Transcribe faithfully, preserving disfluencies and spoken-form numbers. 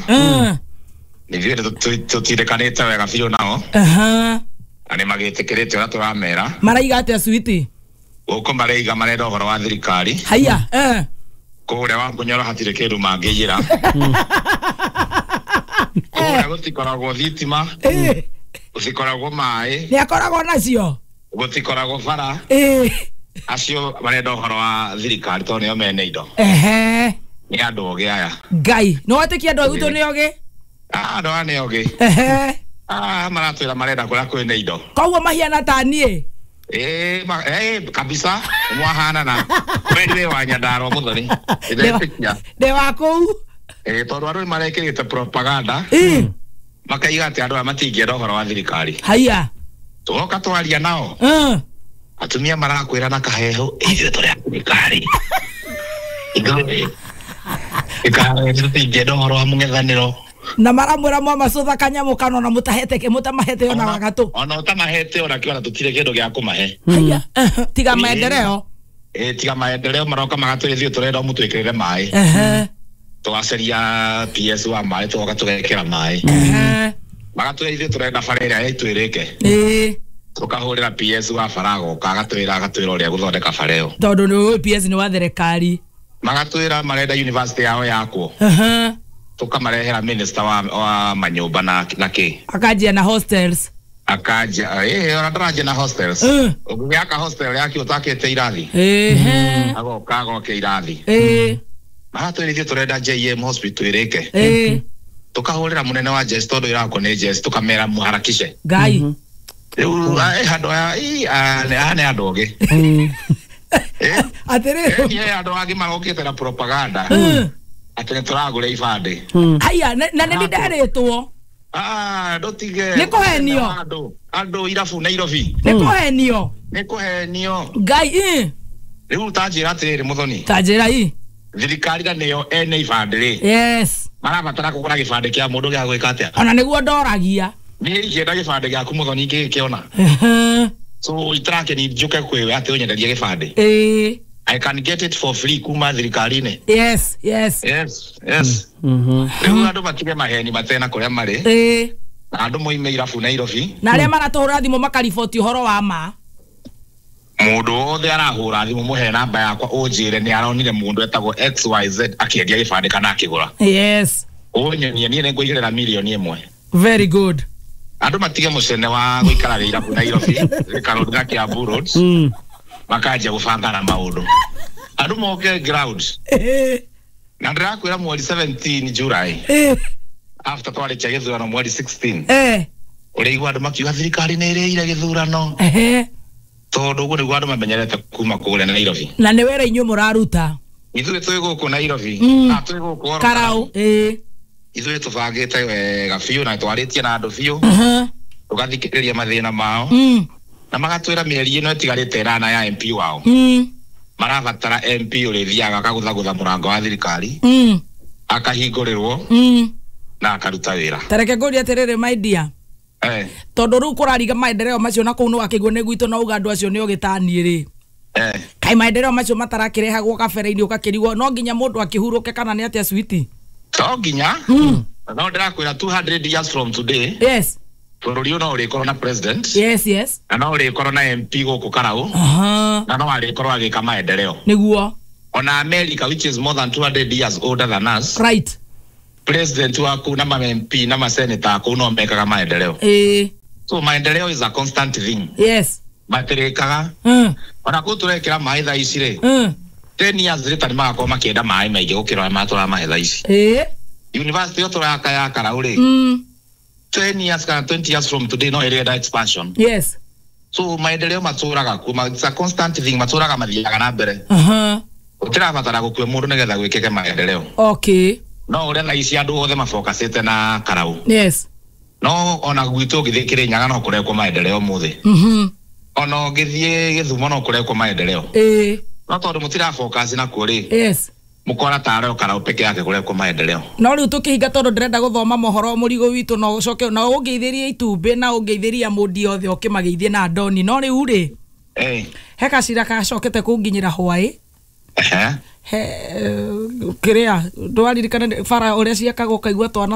Nithuĩ tũtindĩkanĩte wega biũ nao. Aha. Na nĩ magĩtĩkĩrĩte ũrĩa tũramera. Maraiga atĩa switi? Gũkũ maraiga marenda ũhoro wa thirikari. Haya. Eh. Kũrĩa wa Ngũnyoro hatirĩ kĩndũ mangĩiyĩra. Kũrĩa gũtikoragwo thitima. Eh. Gũtikoragwo maĩ. Nĩ akoragwo nacio. Gũtikoragwo bara. Eh. Acio marenda ũhoro wa thirikari tondũ nĩo mene indo. Ehe. Nĩ andũ ogĩ aya. Ngai, no wetĩkia andũ a gwitũ nĩ ogĩ? Ah, andũ aya nĩ ogĩ. Ehe. Ah, maratwĩra marenda kũrĩa kwĩna indo. Koguo mahiana ta niĩ? Eh, ma, eh, kabisa mwahanana. We nĩ wa Nyandarua Muthoni. Ndĩretĩkia. Ndĩ wa kũu. Eh, tondũ andũ nĩ marekĩrĩte propaganda. Eh. Makaiga atĩ andũ aya matingĩenda ũhoro wa thirikari. Haya. Tũgoka twaria nao. Eh. Atumia marakwĩra na kahehu ithuĩ tũrĩ a thirikari. Ithuĩ ĩkarĩ tũtingĩenda ũhoro wa mũng'ethanĩro. Na maramwĩra mwamacũtha kanyamũ kana ona mũtahete mũtamahete ona wagatũ. Ona ũtamahete ona kĩ ona tũtirĩ kĩndũ gĩa kũmahe. Haya. Tiga maendeleo. Eh, tiga maendeleo maroka magatwĩra ithuĩ tũrenda mũtwĩkĩrĩre maĩ. Ehe. Tũgacaria P S wa maĩ tũgoka tũgekĩra maĩ. Ehe. Magatwĩra ithuĩ tũrenda bara ĩrĩa yaitũ ĩrĩke. Ĩĩ. Tũkahũrĩra P S wa bara agoka agatwĩra agatwĩra ũrĩa gũthondeka bara ĩyo. Tondũ nĩ ũĩ P S nĩ wa thirikari. Magatwĩra marenda university yao yakwo. Ehe. Tukamarehera minister wa, wa manyũmba na na kĩ. Akanjia na hostels. Akanjia eh ona ndaranjia na hostels. Uh. Ũngĩaka hostel yake ũtakĩte irathi. Ehe. Agoka agoke irathi. Eh. Magatwĩra ithuĩ tũrenda J M hospital ĩrĩke. Eh. Tukahũrĩra mũnene wa J S tondũ ĩrakwo nĩ J S tukamera mũharakishe. Ngai. Rĩu eh andũ aya aya nĩ andũ ogĩ. Eh. Atĩrĩrĩ. Eh andũ angĩ marokĩte na propaganda. Atĩ nĩ tũragũra ibandĩ. Haya, na nĩ ndarĩtwo. Ah, ndũtige. Nĩ kũhenio. Andũ, andũ irabu Nairobi. Nĩ kũhenio. Nĩ kũhenio. Ngai ĩ. Rĩu ta njĩra atĩrĩrĩ Muthoni. Ta njĩra ĩ. Thirikari na nĩyo ene ibandĩ rĩ. Yes. Marabatara kũgũra gĩbandĩ kĩa mũndũ gĩa gwĩka atĩa? Ona nĩguo ndoragia. Niĩ ingĩenda gĩbandĩ gĩaku Muthoni ingĩgĩkĩona. So itarakeni njuke kwĩwe atĩ ũnyenderie gĩbandĩ. Ĩĩ. I can get it for free kuma thirikari-inĩ. Yes, yes. Yes, yes. Mhm. Rĩu andũ matige maheni matena kũrĩa marĩ. Ĩĩ. Na andũ moime irabu Nairobi. Na arĩa maratũhũra thimũ makariboti ũhoro wa ma. Mũndũ wothe arahũra thimũ mũhe namba yakwa ũnjĩre nĩ aronire mũndũ etagwo X Y Z akĩendia gĩbandĩ kana akĩgũra. Yes. Ũnyonie niĩ nĩngũigĩrĩra mirioni ĩmwe. Very good. Andũ matige mũcene wa gũikara irabu Nairobi, Thika Road na Kiambu Road. Mm. Makanjia gũbanga na maũndũ. Andũ moke ground. Na ndĩrakwĩra mweri seventeen July. After twarĩkia gĩthurano mweri sixteen. Eh. Ũrĩigua andũ makiuga thirikari nĩ ĩrĩire gĩthurano. Ehe. Tondũ ũguo nĩguo andũ mamenyerete kuma kũrĩa Nairobi. Na nĩ wĩra inyuĩ mũraruta. Ithuĩ twĩ gũkũ Nairobi. Mm. Ah, twĩ gũkũ Oro Karau. Ĩĩ. Ithuĩ tũbangĩte wega biũ na twarĩtie na andũ biũ. Uh-huh. Tũgathikĩrĩria mathĩna mao. Mm. Na magatwĩra mĩeri ĩno ĩtigarĩte ĩnana ya M P wao. Mm. Marabatara M P ũrĩthiaga akagũthagũtha mũrango wa thirikari. Mm. Akahingũrĩrwo. Mm. Na akaruta wĩra. Ta reke ngũrie atĩrĩrĩ my dear. Eh. Tondũ rĩu kũrariga maendeleo macio na kũu nĩwakĩigua nĩ gwitũ na uga andũ acio nĩ ogĩ ta niĩ rĩ. Eh. Kaĩ maendeleo macio matarakĩrehagwo kabere-inĩ ũgakĩrigwo no nginya mũndũ akĩhurũke kana nĩ atĩa switi? To nginya. Mm. No ndĩrakwĩra two hundred years from today. Yes. Bũrũri ũyũ no ũrĩkorwo na president. Yes, yes. Na no ũrĩkorwo na M P gũkũ Karau. Aha. Na no arĩkorwo agĩka maendeleo. Nĩguo. Ona America which is more than two hundred years older than us. Right. President waku na ma M P na ma senator kũu no mekaga maendeleo. Eh. So maendeleo is a constant thing. Yes. Matirĩkaga. Mm. Ona kũu tũrekĩra maĩ thaa ici rĩ. Mm. ten years later nĩmagakorwo makĩenda maĩ maingĩ gũkĩra ũrĩa matũramahe thaa ici. Eh. University ĩyo tũraka ya Karau rĩ. Mm. ten years kana twenty years from today no ĩrenda expansion. Yes. So maendeleo matũraga kuo, it's a constant thing, matũraga mathiaga na mbere. Aha. Gũtirabatara gũkue mũndũ nĩgetha gwĩkĩke maendeleo. Okay. No ũrĩa thaa ici andũ othe mafocusĩte na Karau. Yes. No ona gwitũ ũngĩthiĩ Kĩrĩnyaga no kũrekwo maendeleo ũmũthĩ. Mhm. Ona ũngĩthiĩ Gĩthumo no kũrekwo maendeleo. Eh. No tondũ mũtirafocus nakuo rĩ. Yes. Mukora tarĩ o Karau peke yake kũrekwo maendeleo. No rĩu tũkĩhinga tondũ ndĩrenda gũthoma mohoro mũrigo witũ no ũcoke na ũngeithĩrie itumbĩ na ũngeithĩria mũndi othe ũkĩmageithie na ndoni no rĩu rĩ. Eh. He gacira gacokete kũnginyĩra hwaĩ. Ehe. He kiria ndwaririkana bara uria ciakagwo kaigua twana